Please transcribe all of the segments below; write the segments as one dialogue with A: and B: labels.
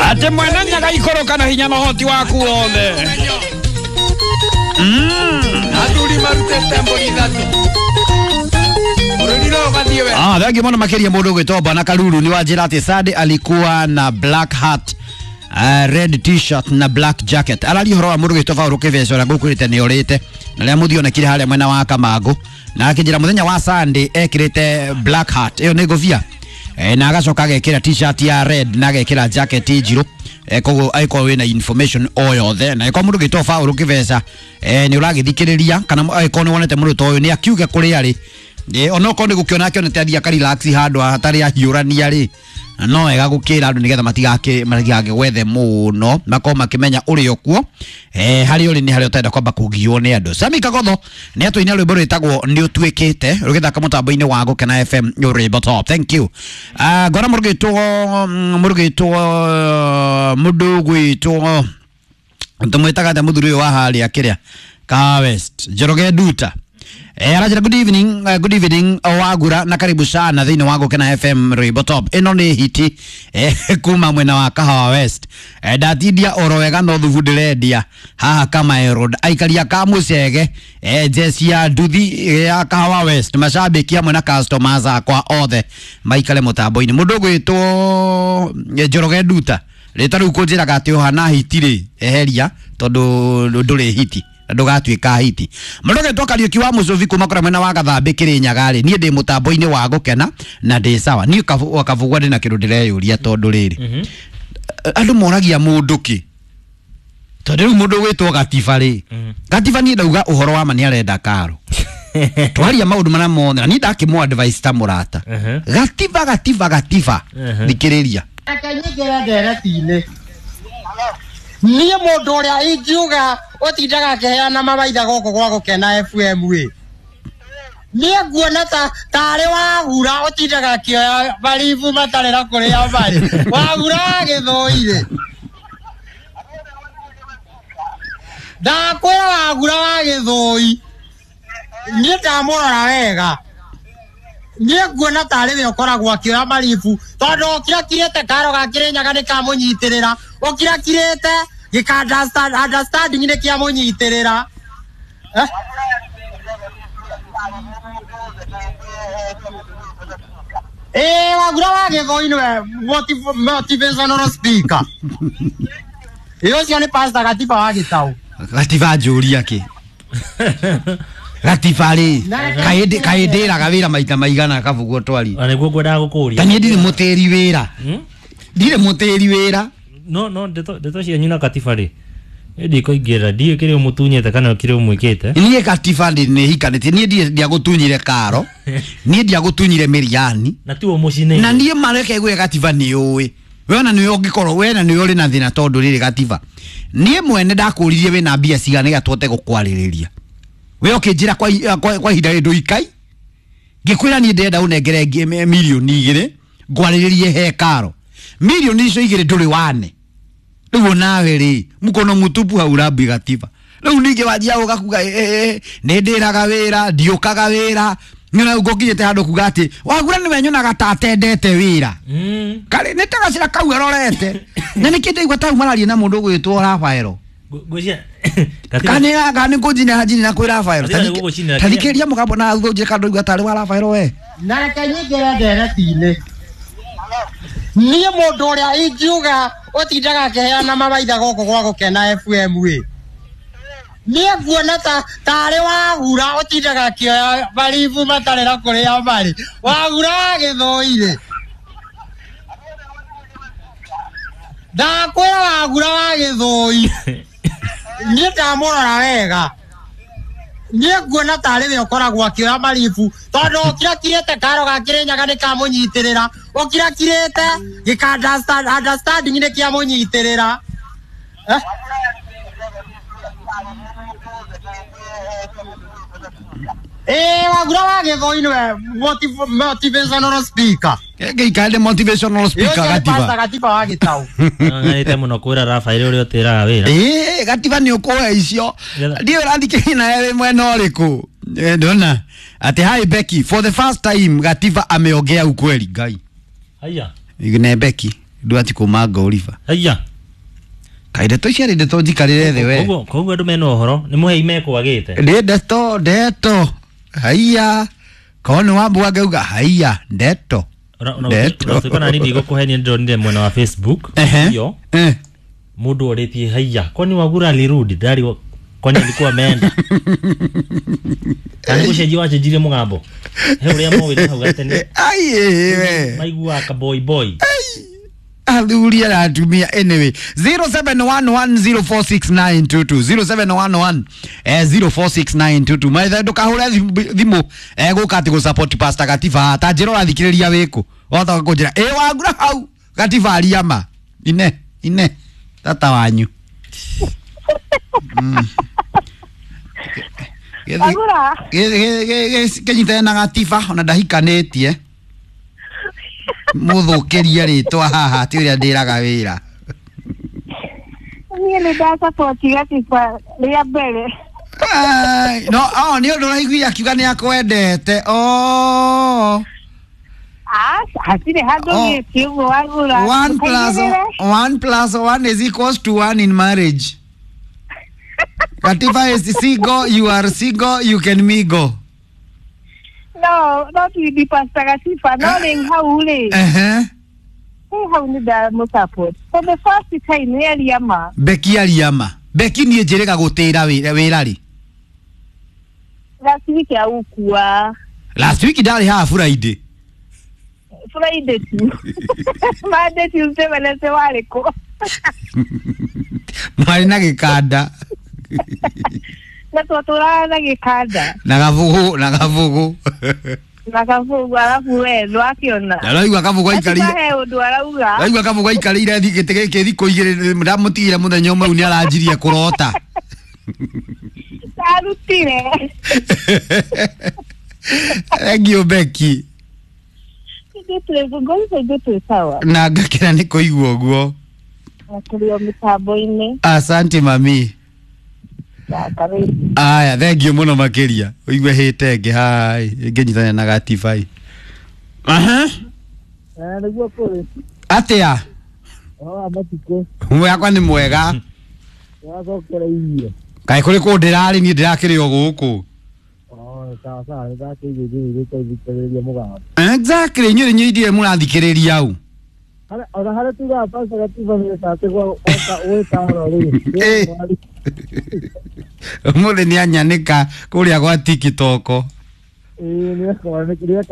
A: Ate mwene nyaga ikoroka na hinya na ũhoti waku wothe.
B: Athuri marutĩte mbũri ithatũ. Bũrũri no ũgathiĩ wega.
A: Ah, thengi mũno makĩria mũndũ ũgwĩtwo Bwana Karuru ni wanjĩra atĩ Sunday alikuwa na black hat, red t-shirt na black jacket. Araria ũhoro wa mũndũ ũgwĩtwo Paul Kĩbeca ũrĩa ngũkwĩrĩte nĩ orĩte na rĩrĩa mũthionekire harĩa mwena wa Kamangũ, na akĩnjĩra mũthenya wa Sunday ekĩrĩte black hat, ĩyo nĩ ngũbia, na agacoka agekĩra t-shirt ya red na agekĩra jacket njirũ. Koguo angĩkorwo wĩna information o yothe na angĩkorwo mũndũ ũgwĩtwo Paul Kĩbeca nĩ ũragĩthikĩrĩria kana angĩkorwo nĩ wonete mũndũ ta ũyũ nĩ akiuge kũrĩa arĩ, onokorwo nĩ gũkĩona akĩonete athiĩ akarelax handũ hatarĩ ahiũrania rĩ, no wega gũkĩra andũ nĩgetha matigakĩgwethe mũno, makorwo makĩmenya ũrĩ o kuo, harĩa ũrĩ nĩ harĩa ũtarenda kwamba kũgiywo nĩ andũ. Sami Kagotho nĩ atũina rwĩmbo rwĩtagwo nĩ ũtuĩkĩte rũgĩthaka mũtambo-inĩ wa Gũkena FM rwĩmbo top. Thank you. Ngona mũrũgĩtwo mũndũ ũgwĩtwo tũmwĩtaga atĩa mũthuri ũyũ wa harĩa kĩrĩa Kahawa West, Njoroge Nduta. Arajira good evening, good evening Wagura na karibu sana thĩinĩ wa Gũkena FM rwĩmbo top. Ĩno nĩ hiti kuma mwena wa Kahawa West. Ndatindia oro wega no thubu ndĩrendia haha Kamae Road. Aikaria ka Mũcege, jeci ya nduthi ya Kahawa West, macambĩki amwe na customers akwa othe maikare mũtambo-inĩ. Mũndũ ũgwĩtwo Njoroge Nduta rĩtwa rĩu kũnjĩraga atĩ ũhana hiti rĩ, eheria tondũ ndũrĩ hiti na ndũgatuĩka hiti. Mũndũ ũgwĩtwo Kariũki wa Mũcũbi kuma kũrĩa mwena wa Gathambĩ Kĩrĩnyaga rĩ, niĩ ndĩ mũtambo-inĩ wa Gũkena na ndĩ sawa. Niĩ Kabugwa ndĩ na kĩndũ ndĩreyũria tondũ rĩrĩ, andũ moragia mũndũ kĩ, tondũ rĩu mũndũ ũgwĩtwo Gatiba rĩ, Gatiba niĩ ndauga ũhoro wa ma nĩ arenda karo twaria maũndũ marĩa mothe na niĩ ndakĩmũ advice ta mũrata. Gatiba Gatiba Gatiba, thikĩrĩria.
C: Reke nyingĩre ndereti-inĩ. Niĩ mũndũ ũrĩa ingiuga ũtindaga akĩheana mawaitha gũkũ gwa Gũkena FM ĩ, niĩ nguona ta tarĩ Wagura ũtindaga akĩoya maribu matarĩ na kũrĩa marĩ. Wagura wa Gĩthũi-rĩ, ndakwĩra Wagura wa Gĩthũi, niĩ ndamũrora wega, niĩ nguona tarĩ we ũkoragwo akĩoya maribu tondũ ũkirakirĩte karo ga Kĩrĩnyaga nĩ kamũnyitĩrĩra, ũkirakirĩte gĩka understanding nĩ kĩamũnyitĩrĩra. Wagura wa Gĩthũi nĩwe motivational speaker. Ĩ ũcio nĩ Pastor Gatiba wa Gĩtaũ.
A: Gatiba njũria kĩ? Gatiba rĩ, kaĩ ndĩraga wĩra maita maigana Kabugwa twari?
D: Na nĩguo ngwendaga gũkũria.
A: Ta niĩ ndirĩ mũtĩri wĩra. Ndirĩ mũtĩri wĩra.
D: No ndeto cianyu na Katiba rĩ, niĩ ndikũingĩrĩra, ndiũĩ kĩrĩa ũmũtunyĩte kana kĩrĩa ũmwĩkĩte.
A: Niĩ Katiba nĩ hikanĩtie, niĩ ndiagũtunyire karo, niĩ ndiagũtunyire mĩriani.
D: Na tiwe mũcinĩire.
A: Na niĩ mareke gwĩ Gatiba nĩ ũĩ. We ona nĩwe ũngĩkorwo, we na nĩwe ũrĩ na thĩna tondũ rĩrĩ Gatiba. Niĩ mwene ndakũririe wĩna mbia cigana nĩgetha tũhote gũkwarĩrĩria. We ũkĩnjĩra kwa ihinda rĩrĩ ndũikai. Ngĩkwĩra niĩ ndĩrenda ũnengere mirioni 2 ngwarĩrĩrie he karo. Mirioni icio 2 ndũrĩ wane. Rĩu nawe rĩ, mkono mũtupu haurambi Gatiba. Rĩu ningĩ wanjia gũka kuga nĩ ndĩraga wĩra, ndiũkaga wĩra. Nĩ ngũkinyĩte handũ kuga atĩ Wagura nĩwe nyonaga ta atendete wĩra. Karĩ nĩ ta gacĩra kau arorete. Na nĩkĩ ndaigua tau mararia na mũndũ ũgwĩtwo Rafaelo.
D: Ngwĩciria
A: Kana nĩ ngũnjinĩra njinĩra kwĩ Rafaelo. Tathikĩrĩria mũgambo na thutha ũnjĩre kana ndũigua tarĩ wa Rafaelo we.
C: Na reke nyingĩre ndereti-inĩ. Niĩ mũndũ ũrĩa ingiuga ũtindaga akĩheana mawaitha gũkũ gwa Gũkena FM ĩ, niĩ nguona tarĩ Wagura ũtindaga akĩoya maribu matarĩ na kũrĩa marĩ. Wagura wa Gĩthũi-rĩ, ndakwĩra Wagura wa Gĩthũi, niĩ ndamũrora wega, niĩ nguona tarĩ we ũkoragwo akĩoya maribu tondũ ũkirakirĩte karo ga Kĩrĩnyaga nĩ kamũnyitĩrĩra, ũkirakirĩte gĩka understanding nĩ kĩamũnyitĩrĩra. Wagura wa Gĩthũi nĩwe motivational speaker.
A: Ngĩikare motivational speaker Gatiba.
C: Gatiba wa Gĩtaũ.
D: Ng'anĩte mũno kwĩra Rafael ũrĩa ũtĩraga wĩra.
A: Gatiba nĩ ũkũhe icio. Ndiũĩ ũrathikĩrĩria nawe wĩ mwena ũrĩkũ. Ndona atĩ hi Becky, for the first time Gatiba ameongea ukweli. Ngai.
D: Haya.
A: Ne Becky. Ndwati kuma ngoriba.
D: Aya.
A: Kaĩ ndeto ici arĩ ndeto njikarĩre thĩ we.
D: Koguo koguo andũ mena ũhoro nĩ mũhei mekwagĩte.
A: Nĩ ndeto ndeto. Haiya. Korwo nĩ wambua ngauga haiya ndeto. Ndeto.
D: Ona nani ndigũkũhenia ndĩronire mwena wa Facebook.
A: Ehe.
D: Iyo
A: Eh.
D: mũndũ orĩtie haiya kwani Wagura alirudi ndari kwani alikuwa ameenda. Kana gũcenjia wacenjirie mũgambo. He ũrĩa mowĩte hau gatene.
A: Ai we.
D: Maiguaga ka boy boy.
A: Athuri na atumia anyway 0711046922 0711 046922 maitha ndukahure thimu guka ati gusupport Pastor Gatiba ta njira urathikiriria wiku wahota kunjira ĩ Wangura hau Gatiba ariama ine ine tata wanyu.
E: Wagura.
A: Kĩnyitane na Gatiba ona ndahikanĩtie mũthũkĩrie rĩtwa haha ti ũrĩa ndĩraga wĩra.
E: Niĩ nĩ ndasapoti Gatiba rĩa mbere.
A: Ai, no oh, nĩ ũndũ ũraiguire akiuga nĩ akwendete. Oh.
E: Hatirĩ handũ
A: Oh.
E: gĩti ũguo Wagura.
A: One plus
E: Ndũkaigĩrĩre.
A: one plus one is equals to one in marriage. Katiba is single, you are single, you can mingle.
E: No, no ti Pastor Gatiba, no rĩu hau rĩ.
A: Ehe.
E: Rĩu hau nĩ ndamũsupport. For the first time nĩ aria ma.
A: Beki ariama. Beki niĩ njĩrĩga gũtĩra wĩra rĩ.
E: Last week aukua.
A: Last week ndarĩ haha Friday.
E: Friday tu. Monday, Tuesday, Wednesday warĩ kũ?
A: Marĩ na gĩkanda.
E: Na twatũraga na gĩkanda.
A: Na gabugu, na gabugu.
E: Na kabugu arabu we ndwakĩona.
A: Na raigua kabugu aikarĩire.
E: Gatiba he ũndũ arauga.
A: Raigua kabugu aikarĩire gĩtĩ gĩkĩ thikũ igĩrĩ ndamũtigire mũthenya ũmwe rĩu nĩ aranjirie kũrota.
E: Ndarutire.
A: Thank you Becky.
E: Ithuĩ twĩ sawa.
A: Na ngakena nĩ kũigua ũguo.
E: Na tũrĩ o mĩtambo-inĩ.
A: Asante mami.
E: Na karibu.
A: Aya, thank you mũno makĩria. Ũigue hĩte ĩngĩ hai, ngĩnyitania na Gatiba. Aha.
C: Nĩguo kũrĩ
A: Atĩa?
C: ũhoro wa matukũ
A: Wakwa nĩ mwega.
C: wacokera irio.
A: Kaĩ kũrĩ kũndũ ndĩrarĩ niĩ ndĩrakĩrĩ o gũkũ.
C: Oh, sawa sawa, nĩndakĩigua njĩrĩte ithikĩrĩria mũgambo.
A: Exactly, inyuĩ inyuĩ ithuĩ mũrathikĩrĩria au.
C: Ona harĩa tugaga Pastor Gatiba nĩ atĩ gwĩtaro rĩ.
A: Eh. Ũmũthĩ nĩ anyanĩka kũrĩa gwa TikTok.
C: Ĩĩ nĩeka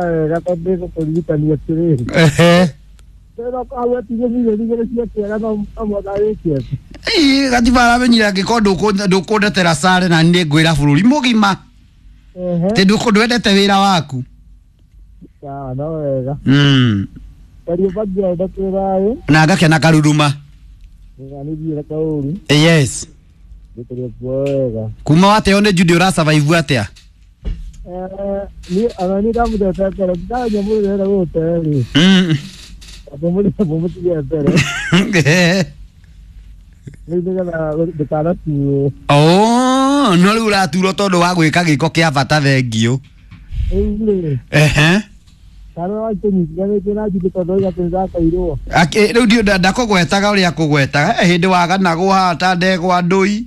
C: wega tondũ nĩgũkũririkania atĩrĩrĩ.
A: Ehe.
C: Tena hau atige milioni igĩrĩ cia kĩega no mũhaka wĩke.
A: Ĩĩ, Gatiba aramenyire angĩkorwo ndũkũndetera sare na nĩ ngwĩra bũrũri mũgima.
C: Ehe.
A: Tĩ ndwendete wĩra waku.
C: Sawa, no wega.
A: Mm.
C: Kariũmba ngĩenda twĩ
A: Na ngakena karuruma.
C: nĩthiĩre kaũru
A: Yes.
C: gĩtũrĩ kuo wega.
A: Kuma wateo nĩ Judy ũrasurvive atĩa?
C: Niĩ ona niĩ ndamũtete mbere ndamenya mũndũ ũrenda gũgũte rĩ mũmũtige mbere rĩu nĩgetha ndũkanatuo.
A: Oh, no rĩu ũraturwo tondũ wa gwĩka gĩko kĩa bata thengio.
C: Rĩu rĩ
A: Ehe.
C: kana wakĩnyitithanĩtie na Judy tondũ oiga atĩ nĩndakairwo.
A: Rĩu ndiũ ndakũgwetaga ũrĩa akũgwetaga. Hĩndĩ waganagwo haha ta ndegwa ndũi.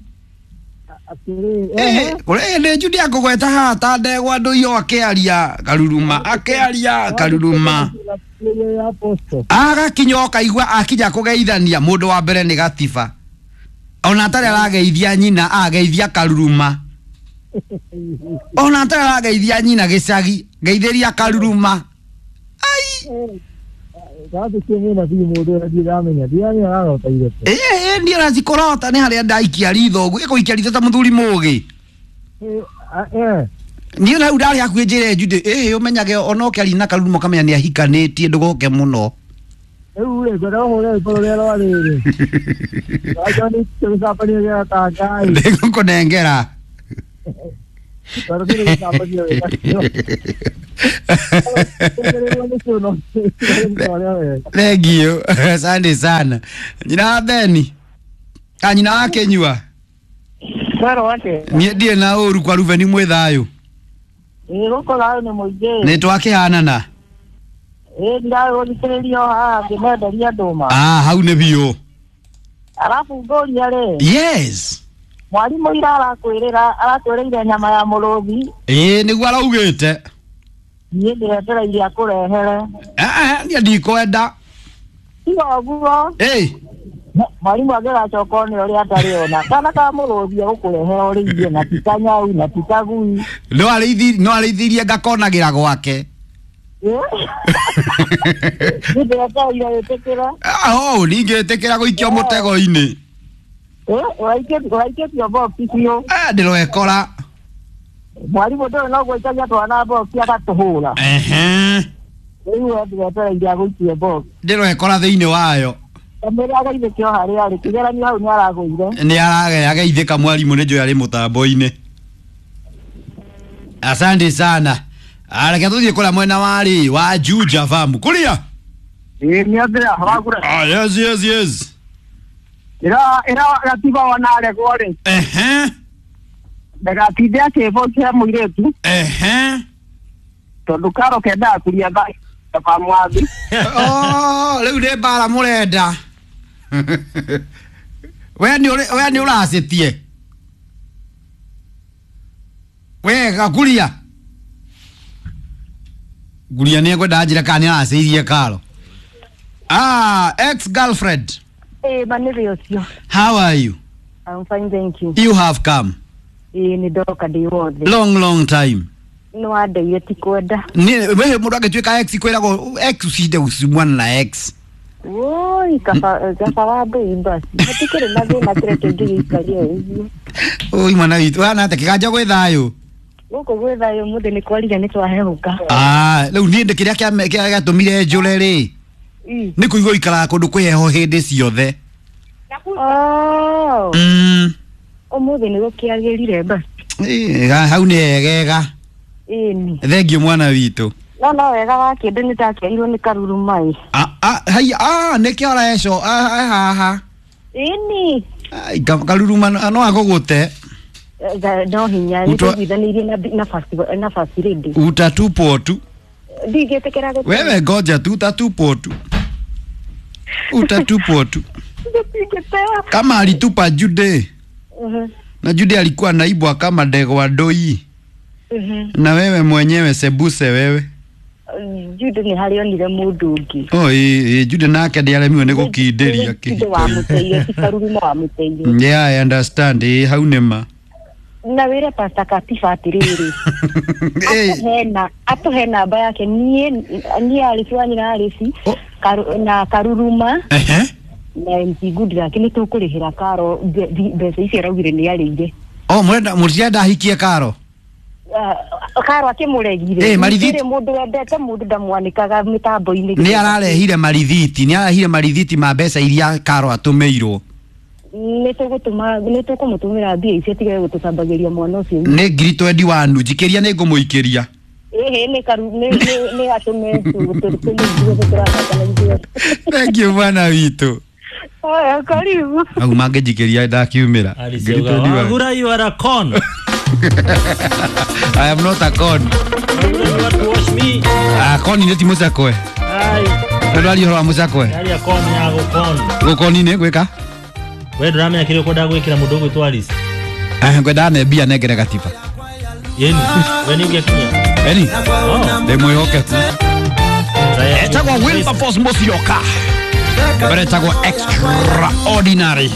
C: Atĩrĩ ehe.
A: Kũrĩ hĩndĩ Judy akũgweta haha ta ndegwa ndũi o akĩaria karuruma akĩaria karuruma.
C: Ĩrĩa ya posto.
A: Agakinya ũkaigua akinya kũgeithania mũndũ wa mbere nĩ Gatiba. Ona atarĩ arageithia nyina ageithia karuruma. Ona atarĩ arageithia nyina gĩcagi geithĩria karuruma. Ai.
C: Gathĩtie mũnabii mũndũ ũrĩa ndiramenya ndiramenya ararota irĩkũ.
A: Ĩĩ niĩ ona cikũrota nĩ harĩa ndaikia ritho ũguo ĩgũikia ritho ta mũthuri mũgĩ. Niĩ ona hau ndarĩ hakuhĩ njĩre Judy ĩhĩ ũmenyage ona ũkĩaria na karuruma ũkamenya nĩ ahikanĩtie ndũgoke mũno.
C: Rĩu rĩ ngwenda ũhũre rwĩmbo rũrĩa rwa rĩrĩ. Rwa John gĩcambanio gĩa Tangai.
A: Nĩngũkũnengera.
C: Tondũ kĩrĩ gĩcambanio wĩnakĩo.
A: Thank you. Asante sana. Nyina wa Beni. Ah, nyina wa Kenyua.
E: Mwerũ atĩa?
A: Niĩ ndirĩ na ũru kwa Rubeni mwĩ thayũ.
E: Ĩĩ gũkũ thayũ nĩ mũingĩ.
A: Nĩ twakĩhanana.
E: Ĩ ndĩragũthikĩrĩria o haha ngĩmenderia ndũma.
A: Ah, hau nĩ biũ.
E: Arabu ngũria rĩ,
A: Yes.
E: mwarimũ ira arakwĩrĩra arakwĩrĩire nyama ya mũrũthi,
A: Ĩĩ nĩguo araugĩte.
E: niĩ ndĩretereire akũrehere.
A: Eh, niĩ ndikwenda.
E: Tiga ũguo,
A: Ĩ,
E: mwarimũ angĩgacoka one ũrĩa atarĩ ona. Kana ka mũrũthi egũkũrehera ũrĩithie na ti kanyau na ti kagui.
A: no arĩithirie ngakonagĩra gwake.
E: Ĩ? Niĩ ndĩretereire wĩtĩkĩre.
A: Ah, oh, ningĩtĩkĩra gũikio mũtego-inĩ.
E: Ĩ, ũraikĩtio box biũ.
A: Eh, ndĩrwekora.
E: Mwarimũ ndũĩ no gũikagia twana box agatũhũra.
A: Ehe.
E: Rĩu we ndĩretereire agũikie box.
A: Ndĩrwekora thĩinĩ wayo.
E: Kamĩrĩ agaithĩkio harĩa arĩ kĩgeranio hau nĩ aragũire.
A: Nĩ arageithĩka mwarimũ nĩ njũĩ arĩ mũtambo-inĩ. Asante sana. Reke tũthiĩ kũrĩa mwena wa rĩ wa Juja Farm. Kũrĩa?
C: Ĩ nĩ atĩa wagura.
A: Ah, yes, yes, yes.
C: Ira ira gatiba ona aregwo rĩ.
A: Ehe.
C: Ndagatinde akĩbokia mũirĩtu
A: Ehe.
C: tondũ karo kendaga kũria tha mwathi.
A: Oh, rĩu nĩ mbara mũrenda. We nĩ ũracĩtie. We gakuria. Guria nĩ ekwenda njĩra kana nĩ aracĩirie karo. Ah, ex girlfriend.
E: Ĩ manĩrĩ ũcio.
A: How are you?
E: I'm fine, thank you.
A: You have come.
E: Ĩ nĩ ndoka ndĩ wothe.
A: Long long time.
E: Nĩ wandeire ti kwenda.
A: Nĩ we mũndũ angĩtuĩka ex kwĩragwo ex ucinde usimwana na ex.
E: Woi, kaba wa mbei basi. Hatikĩrĩ na thĩna kĩrĩa kĩngĩgĩikaria ũguo.
A: Oi mwana witũ, wana atĩa kĩganja gwĩ thayũ?
E: Gũkũ gwĩ thayũ mũthĩ nĩ kwarire nĩ twahehũka.
A: Ah, rĩu niĩ ndĩ kĩrĩa gĩatũmire njũre rĩ nĩ kũigua ikaraga kũndũ kwĩ heho hĩndĩ ciothe.
E: Oh,
A: Mm.
E: ũmũthĩ nĩ gũkĩagĩrire basi.
A: Ĩ, hau nĩ hegega.
E: Ĩni.
A: Thengiũ mwana witũ.
E: No no wega wa kĩndũ nĩ ndakĩairwo nĩ karuru mai.
A: Ah, ah, hai, ah, nĩkĩo areco ah, haha.
E: Ĩni.
A: Ai, karuruma no agũgũte.
E: No hinya nĩ tũiguithanĩirie na first lady.
A: Utatupwo tu.
E: Ndingĩtĩkĩra gũte.
A: Wewe ngoja tu utatupwo tu. Utatupwo tu.
E: Ndingĩtewa.
A: Kama alitupa Jude. Na Jude alikuwa naibwa kama ndegwa ndoi. Na wewe mwenyewe sebuse wewe.
E: Jude nĩ harĩa onire mũndũ ũngĩ.
A: Oh, ĩ Jude nake ndiaremirwo nĩ gũkindĩria
E: Jude wamũteire ti karuruma wamũteire.
A: Yeah, I understand. Ĩ hau nĩ ma.
E: Na wĩre Pastor Katiba atĩrĩrĩ. Atũhe namba yake niĩ Alice wa nyina Alice na karuruma na MC Goodluck nĩ tũkũrĩhĩra karo mbeca icio araugire nĩ arĩire.
A: Oh, mũrenda mũtienda ahikie karo.
E: Karo akĩmũregire.
A: Marithiti.
E: Mũndũ wendete mũndũ ndamwanĩkaga mĩtambo-inĩ.
A: Nĩ ararehire marithiti, nĩ ararehire marithiti ma mbeca iria karo atũmĩirwo.
E: Nĩ tũkũmũtũmĩra mbia icio atige gũtũcambagĩria mwana ũcio.
A: Nĩ 21,000 njikĩria nĩ ngũmũikĩria.
E: Ĩhĩ nĩ nĩ atũme tũmũigue tũrathaka na ithuĩ.
A: Thank you mwana witũ.
E: Haya, karibu.
A: Au mangĩnjikĩria ndakiumĩra.
D: Wagura, you are a con.
A: I am not a con.
D: You want to wash me?
A: Ah, con nĩ ti mũcakwe.
D: Ai.
A: Ndwari ũhoro wa mũcakwe.
D: Yaani con ya gũkon.
A: Gũkoni nĩ gwĩka?
D: We ndũramenya kĩrĩa ũkwendaga gwĩkĩra mũndũ ũgwĩtwo Alice.
A: Eh, ngwendaga ne mbia nengere gatiba.
D: Yeni, we nĩ ũngĩakinya.
A: Eni? Ndĩ mwĩhokeku. Etagwo Wilberforce Musyoka. Mbere etagwo Extraordinary.